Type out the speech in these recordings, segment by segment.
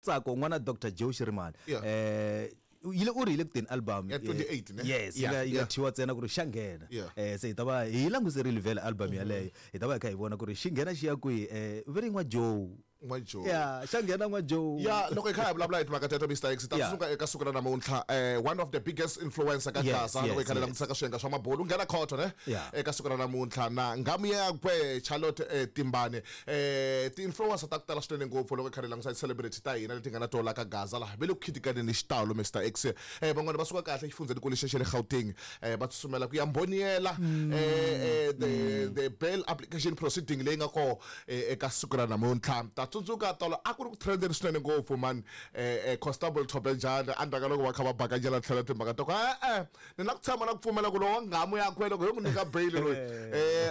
Tsako n'wana Dr Joe Shirimani Yeah. eh yile u ri yi le ku teni album Ya 28 ne? Yes, yi Yeah, nga yi nga yeah. thyiwa ntsena ku ri xa nghena. Yeah. Se hi ta va hi languserile vhele album yaleyo. Hi ta va hi kha hi vona ku ri xi nghena xi ya kwihi va ri n'wa Joe. N'wa Joe. Yeah, xa nghena n'wa Joe. Ya loko hi kha hi vulavula hi timhaka teto Mr X ta Yeah. tsundzuka eka siku ra namuntlha one of the biggest influencer ka Yes, Gaza loko hi yes, kha hi yes. langutisa ka swiyenge swa mabulu u nghena khoto ne Yeah. eka siku ra namuntlha na nghamu yakwe Charlotte Timbane ti-influencer ta ku tala swinene ngopfu loko hi kha hi langutisa ti-celebrity ta hina leti nga na tona ka Gaza laha ve le ku khitikaneni xitalo Mr X van'wana va suka kahle exifundzhenikulu xa le Gauteng va tsutsumela ku ya mboniyela the bail application proceeding leyi nga koho eka siku ra namuntlha ta tsundzuka tolo a ku ri ku trendeni swinene ngopfu man Constable Thobejane endzhaku ka loko va kha va bakanyela tlhelo timhaka ta ku e-e ni na ku tshama na ku pfumela ku lowa nghamu yakwe loko yo n'wi nyika bail loyi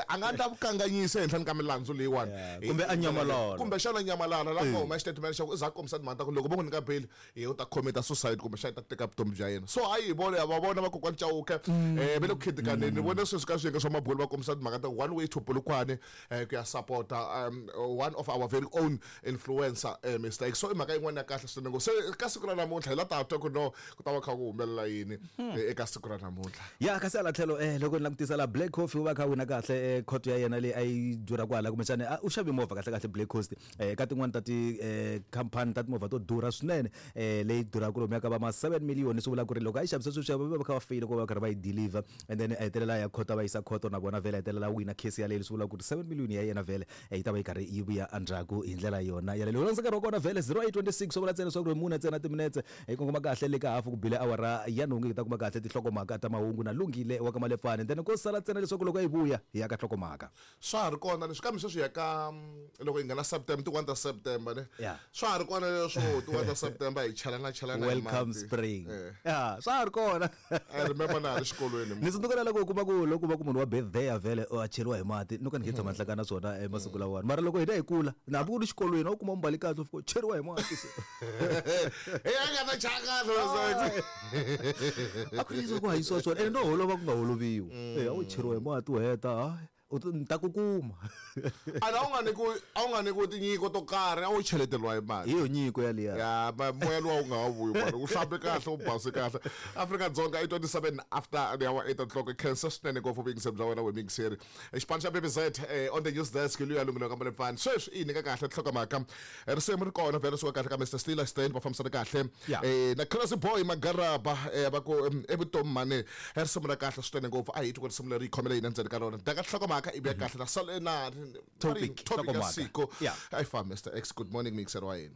a nga endla vukanganyisi ehenhleni ka milandzu leyiwani Yeah, kumbe a nyamalala. Kumbe xana nyamalala la ku huma xitatimende xa ku i za kombisa timhaka ta ku loko vo n'wi nyika bail ye u ta commit suicide kumbe xana i ta teka vutomi bya yena so hayi hi vona va vona vakokwani Chauke va le ku khitikaneni ni vone sweswi ka swiyenge swa mabulu va kombisa timhaka ta one way to Polokwane ku ya sapota one of our very own influencer Mr X so i mhaka yin'wana ya kahle swinene ngopfu se ka siku ra namuntlha hi la ta twa ku no ku ta va kha ku humelela yini eka siku ra namuntlha Ya kasi hala tlhelo loko ni langutisa la Black Coffee u va kha wina kahle court ya yena leyi a yi durha kwala kumbexana u xave movha kahle kahle Black Coast ka tin'wani ta ti khampani ta timovha to durha swinene leyi durhaka lomuya ka va ma 7 million swi vula ku ri loko a yi xavisa sweswi va va kha va feyila ku va va karhi va yi deliver and then a hetelela a ya khoto va yisa khoto na vona vhele a hetelela wina case yaleyo leswi vulaka ku ri 7 million ya yena vhele yi ta va yi karhi yi vuya endzhaku hi ndlela yona yaleyo loko nkarhi wa kona vhele 0826 swi vula ntsena leswaku ri mune ntsena timinetse hi kongoma kahle le ka hafu ku bile awara ya nhungu hi ta kuma kahle tinhlokomhaka ta mahungu na Lungile wa ka Malepfane then ko sala ntsena leswaku loko yi vuya hi ya ka nhlokomhaka Swa ha ri kona leswi kambe sweswi hi ya ka loko hi nghena September ti 1 ta September ne Yeah. swa ha ri kona leswo ti 1 ta September hi chelana chelana hi Welcome mati. spring Eh. Ya swa ha ri kona I remember na ha ri xikolweni ni tsundzuka na loko u kuma ku loko va ku munhu wa birthday ya vhele a cheriwa hi mati no ka ni nge tshama hlangana na swona emasiku lawani mara loko hina hi kula na hambi ku ri xikolweni a wu kuma mbali kahle u fika u cheriwa hi mati so Hey, a nga ta chaya kahle leswaku a ku ri ku hanyisiwa swona ene no holova ku nga holoviwi a wu cheriwa hi mati u heta hayi u ta ni ta ku kuma ana a wu nga nyikiwi a wu nga nyikiwi tinyiko to karhi a wu cheleteriwa hi mali hi yo nyiko yaliya ya moya luwa wu nga ha vuyi mani u hlambe kahle u base kahle Afrika-Dzonga i 27 after the hour 8 o'clock khensa swinene ngopfu vuyingiseri bya wena wemiyingiseri xipano xa BBZ on the news desk luya lunghelo ka Malepfani sweswi i yi nyika kahle nhlokomhaka risimu ri kona vhele suka kahle ka Mr Stiller Stein va fambisana kahle Yeah. Na Crazy Boy Magaraba va ku evutomi mani risimu ra kahle swinene ngopfu a hi twi ku risimu leri yi khomele yini endzeni ka rona daka nhlokomhaka i vuya kahle na sale na Topic, topic ya nhlokomhaka. siku Yeah. a yi fambi Mr X good morning mixer wa hina.